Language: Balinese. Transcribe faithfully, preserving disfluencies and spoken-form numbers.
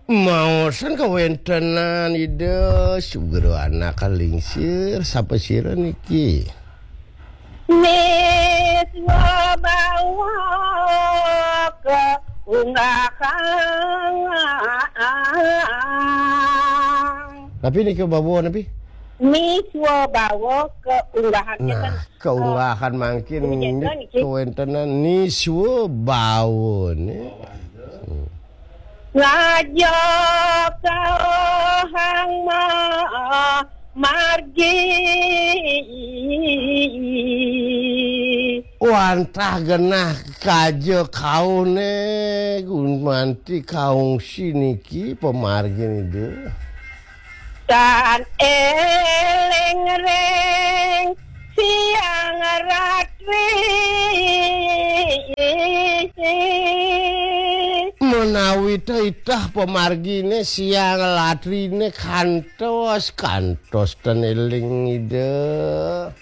Maosan kawéntenan Ida, sugra anak lingsir, sapa sira niki? Niswa bawa keunggahang. Napi nika bawa napi? Niswa bawa keunggahang. Nah, keunggahang mangkin niki kawéntenan niswa bawa nih. Ngajak kauhang ma-, margi. Wantah genah kaja kaune gumanti kaungsi niki pamargin Ida. Tan eling ring siang ratri. Menawi titah pamargine siang latrine kantos, kantos ten eling Ida.